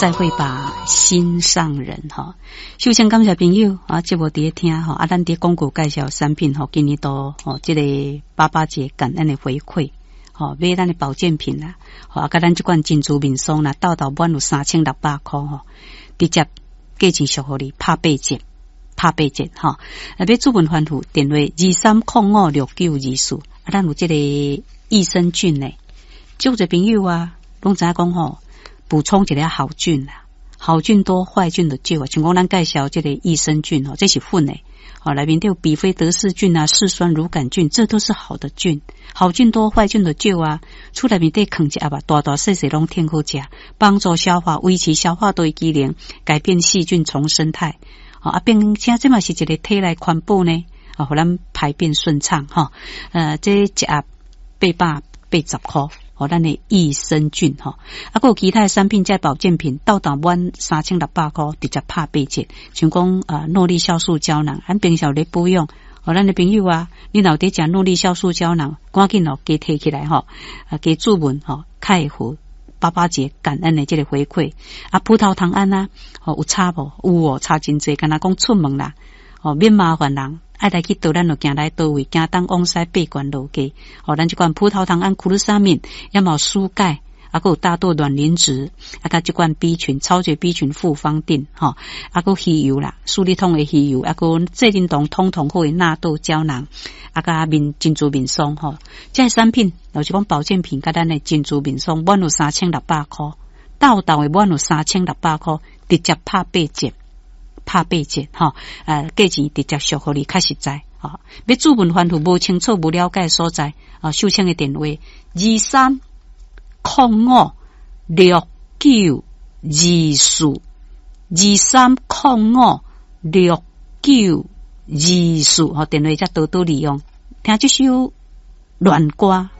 再會吧，心上人吼。首先感謝朋友啊，節目佇咧聽吼，啊，咱佇廣告介紹產品吼，今年度吼，這個爸爸節感恩的回饋。吼，買咱的保健品啦，吼，啊，佮咱這款珍珠面霜啦，鬥鬥滿有3600箍吼，直接價錢俗予你拍八折，拍八折吼。啊，欲諮問番號電話23056924，啊，咱有這個益生菌呢，足濟朋友啊，攏知影講吼，補充一個好菌啦，好菌多，壞菌就少啊。像講咱介紹這個益生菌吼，這是粉的。吼，內面都有比菲德氏菌啊、嗜酸乳桿菌，這都是好的菌。好菌多，壞菌就少啊。厝內面底囥一盒啊，大大細細攏挺好食，幫助消化，維持消化道機能，改變細菌叢生態。啊，並且這嘛是一個體內環保呢，啊，予咱排便順暢吼。這一盒880箍，予咱的益生菌吼。啊，閣有其他的產品，這保健品，鬥鬥滿3600箍，直接拍八折。像講啊，諾麗酵素膠囊，咱平常咧保養，予咱的朋友啊，你若有佇食諾麗酵素膠囊，趕緊哦，加提起來吼，啊，加注文吼，較會予爸爸節感恩的這個回饋。啊，葡萄糖胺啊，吼，有差無？有哦，差真濟。敢若講出門啦，吼，免麻煩人。愛來去佗，咱就行來佗位，行東往西八關落街。吼，咱這款葡萄糖胺、苦魯沙敏，也嘛有舒鈣，啊，閣有大豆卵磷脂，啊，佮這款 B 群、超級 B 群複方錠，吼，啊，閣魚油啦，舒利通的魚油，啊，閣濟仁堂通通好的納豆膠囊，啊，佮面珍珠面霜，吼，這個產品就是講保健品，佮咱的珍珠面霜滿有3600箍，鬥鬥的滿有三千六百箍，直接拍八折。拍八折吼，價錢直接俗予你較實在吼。欲諮問番號無清楚、無了解所在，啊，秀清的電話23056924，23056924，吼，電話才多多利用。聽這首戀歌。